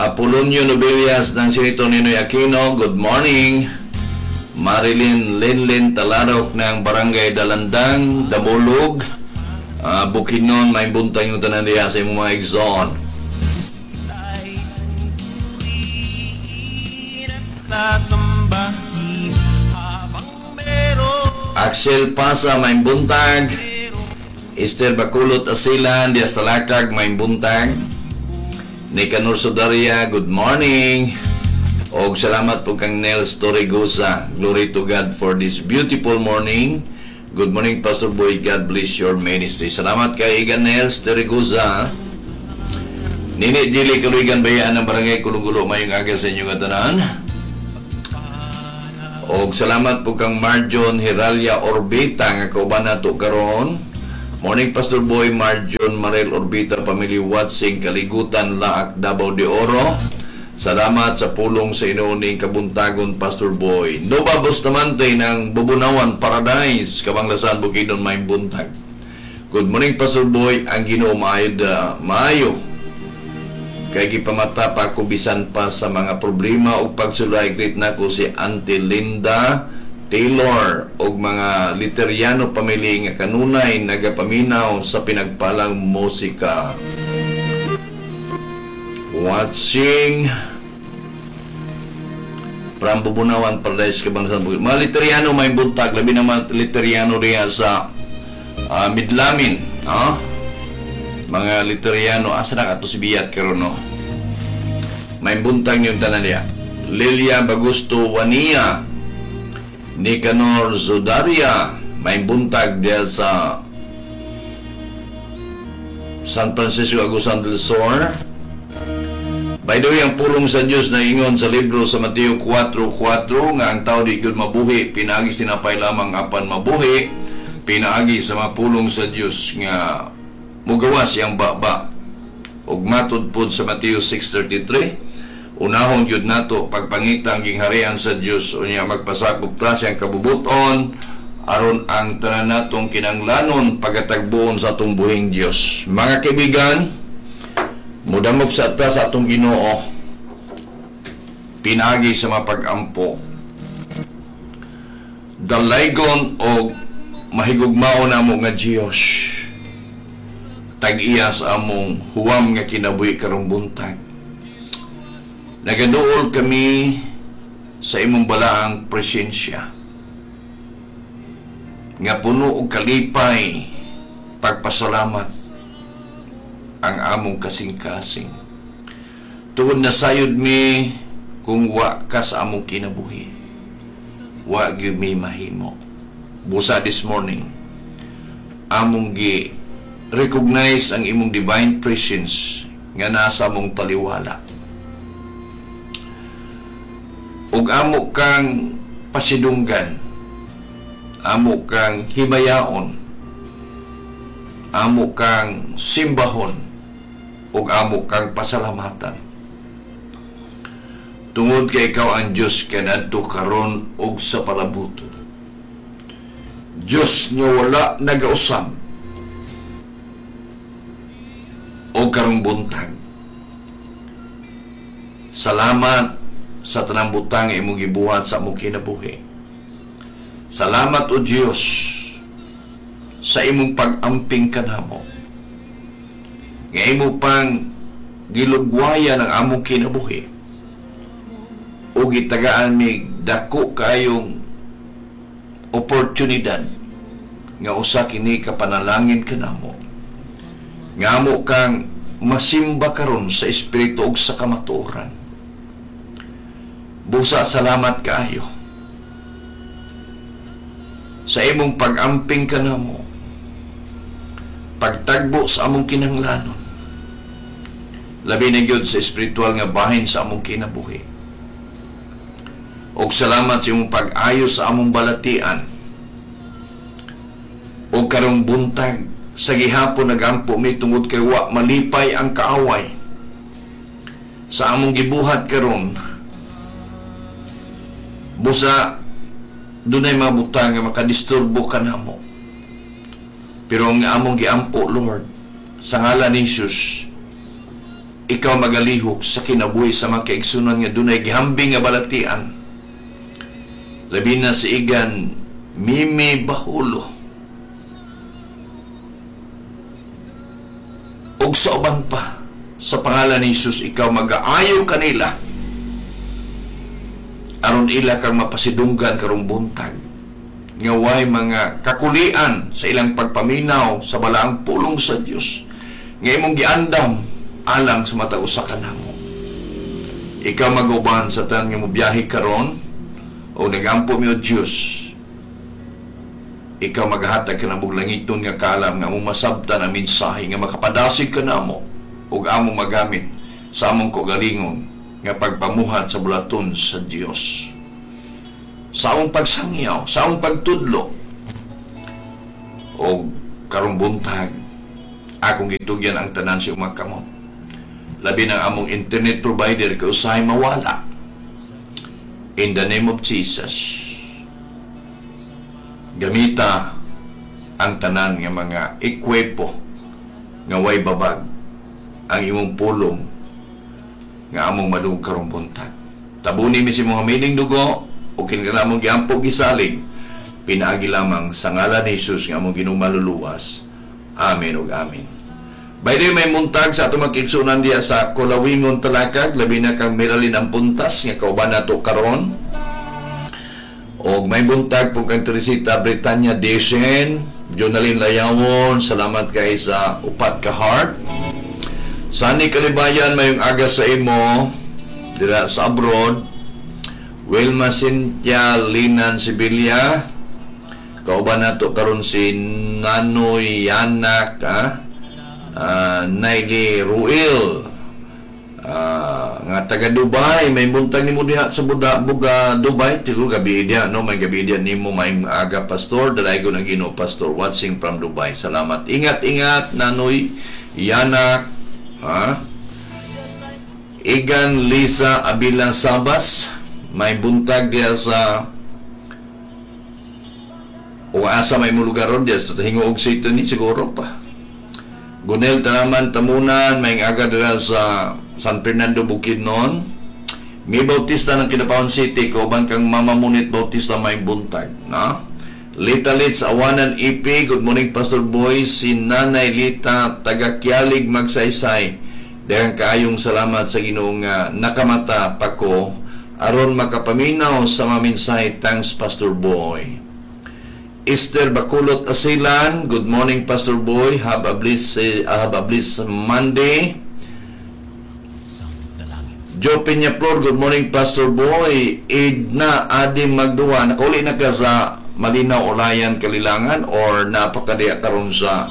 Apolonio Nobilias ng Senator Ninoy Aquino, good morning. Marilyn Linlin Talarok ng Barangay Dalandang, Damulog, Bukidnon, may buntag yung tanan diha sa imong mga igsoon. Ay purihin at sasambahin habang meron. Axel Pasa, may buntag. Esther Bakulot Asilan, Dias Talakag, may buntag. Nicanor Sudaria, good morning. Og salamat po kang Nels Torregosa. Glory to God for this beautiful morning. Good morning, Pastor Boy. God bless your ministry. Salamat kay Igan Nels Torregosa. Nini Dili Kaluigan Bayaan ng Barangay Kulugulo, mayong aga sa inyong tanan. Og salamat po kang Marjon Hiralia Orbita nga kauban nato karon. Morning, Pastor Boy. Marjon Marel Orbita family watching Kaligutan, Laak, Davao de Oro. Salamat sa pulong sa inuuning kabuntagon, Pastor Boy. Nova Bustamante ng Bubunawan Paradise, Kabanglasan, Bukidnon, may buntag. Good morning, Pastor Boy. Ang Ginoo maayo da, maayo. Kay gipamata pa ko bisan pa sa mga problema ug pagsulay. Greet nako si Auntie Linda Taylor ug mga Literiano family nga kanunay nagapaminaw sa pinagpalang musika. Watching from Bubunawan, Paradise, Kabanglasan, Bukid. Mga Literiano, may buntag. Labi naman Literiano diha sa Midlamin. No? Mga Literiano, asa na kato si Biyat karon, no? May buntag yung tanan diha. Lilia Bagusto Wania, Nicanor Zodaria, may buntag diha sa San Francisco, Agusan del Sur. By the way, ang pulong sa Diyos na ingon sa libro sa Mateo 4.4 nga ang tao di gyud mabuhi pinaagi sa tinapay lamang apan mabuhi pinaagi sa mga pulong sa Diyos nga mugawas iyang baba. Ug matud pod sa Mateo 6.33, unahon gyud nato pagpangita ang gingharian sa Diyos, unya magpasakop ta siyang kabubuton aron ang tanan natong kinanglanon pagatagboon sa atong buhing Dios. Mga kaibigan, mudamop sa ta sa atong Ginoo pinaagi sa mapag-ampo. Dalaygon og mahigugmao namo nga Dios, tag-iya sa among huwam nga kinabuhi karong buntag. Nagaduol kami sa imong balaang presensya nga puno og kalipay, pagpasalamat ang among kasing-kasing. Tungod nasayod mi kung wa ka sa among kinabuhi, wa gyud mi mahimo. Busa this morning, among gi recognize ang imong divine presence nga nasa among taliwala. Ug amo kang pasidunggan, amo kang himayaon, amo kang simbahon, ug amo kang pasalamatan. Tungod kay ikaw ang Diyos kanadto, karon ug sa palabuton. Diyos nga wala nagausab o karong buntag. Salamat sa tanang butang nga imong gibuhat sa among kinabuhi. Salamat, o Dios, sa imong pag-amping kanamo. Nga imo pang gilugwayan ang among kinabuhi. O gitagaan mi dako kayong oportunidad nga usa kini ka panalangin kanamo. Nga amo kang masimba karon sa espiritu ug sa kamatuoran. Busa salamat kaayo sa imong pag-amping kanamo, pagtagbo sa among kinahanglanon, labi na gyud sa espiritual nga bahin sa among kinabuhi. Og salamat sa imong pag-ayo sa among balatian. Og karong buntag, sa gihapon nagampo mi tungod kay wa malipay ang kaaway sa among gibuhat karon. Busa dunay mga butang nga makadisturbo kanamo. Pero ang among giampo, Lord, sa ngalan ni Jesus, Ikaw magalihok sa kinabuhi sa mga kaigsunan nga dunay gihambing nga balatian. Labi na si Igan Mimi Bahulo ug sa uban pa. Sa pangalan ni Jesus, ikaw magaayo kanila aron ila kang mapasidunggan karong buntag nga way mga kakulian sa ilang pagpaminaw sa balaang pulong sa Dios nga imong giandam alang sa matag usa kanamo. Ikaw maguban sa tanan nga mobiyahe karon o nagampo mi o Dios, ikaw maghatag kanamog langiton nga kaalam nga among masabtan ang mensahe nga makapadasig kanamo ug among magamit sa among kaugalingon nga pagpamuhat sa bulaton sa Dios, sa among pagsangyaw, sa among pagtudlo. Og karong buntag, akong gitugyan ang tanan sa imong kamot. Labi ng among internet provider kay usahay mawala. In the name of Jesus, gamita ang tanan nga mga ekwepo nga way babag ang imong pulong nga among madungog karong buntag. Tabuni mi sa imong hamiling dugo o kinahanglan among giampo gisalig pinaagi lamang sa ngalan ni Jesus nga among Ginoong maluluwas. Amen ug amen. By the way, may muntag sa atong makigsunan diya sa Kulawingon Talakag, labi na kang Meralyn Ampuntas nga kauban nato karon. Og may buntag po kang Teresita Britanya Desen, Jonalyn Layawon, salamat kay sa upat ka heart. Sani Kalibayan, mayong aga sa imo dira sa abroad. Wilma Cynthia Linan Sibilia, kauban nato karon si Nanoy Yanak, Naili Ruel, nga taga Dubai. May buntag nimo diha sa Buda, Buga, Dubai. Siguro gabi diha, no? May gabi diha nimo. May aga, Pastor. Dalaygon ang Ginoo, Pastor, watching from Dubai. Salamat. Ingat, ingat, Nanoy Yanak, ha? Igan Lisa Abila Sabas, may buntag diha sa o asa may mo lugar ron diha sa Gingoog City ni siguro pa. Gunel Tanaman Tamunan, may aga dira sa San Fernando, Bukidnon. May Bautista ng Kidapawan City, kauban kang Mama Munit Bautista, may buntag, no? Lita Litz, Awanan EP, good morning, Pastor Boy, si Nanay Lita, taga Kialig, Magsaysay. Daghang kaayong salamat sa Ginoo nga nakamata pa ko aron makapaminaw sa mga mensahe. Thanks, Pastor Boy. Esther Bakulot Asilan, good morning, Pastor Boy. Have a bliss Monday. Joe Peñaflor, good morning, Pastor Boy. Edna Adi Magduwa, nakauli na ka sa Malinaw, Olayan, Kalilangan or napakadiya karon sa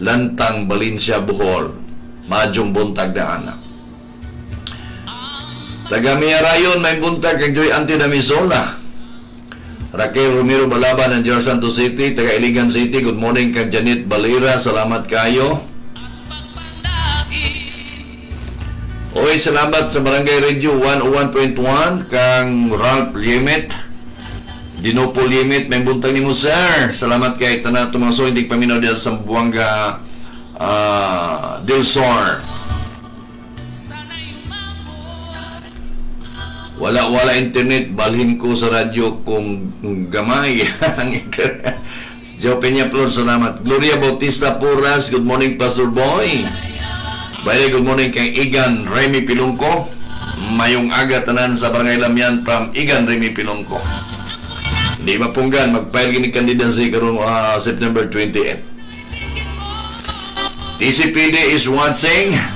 Lantang, Valencia, Bohol? Maayong buntag na anak. Taga Rayon, may buntag kang Joy Ante Damisola. Raquel Romero Balaban ng General Santos City, taga Iligan City, good morning kang Janet Balira, salamat kayo. Oy, salamat sa Barangay Radio 101.1 kang Ralph Limit. Dinopo Limit, may buntag nimo, sir. Salamat kay tanan atong mga suwindig paminaw diya sa Zamboanga del Sur. Wala wala internet, balhin ko sa radyo kung gamay ang internet. Joe Peña Flor, salamat. Gloria Bautista Puras, good morning, Pastor Boy. By the way, good morning kay Igan Remy Pilungko. Mayong aga tanan sa Barangay Lamian from Igan Remy Pilungko. Di mapunggan, mag-file gini candidacy karong September 28. TCPD is watching.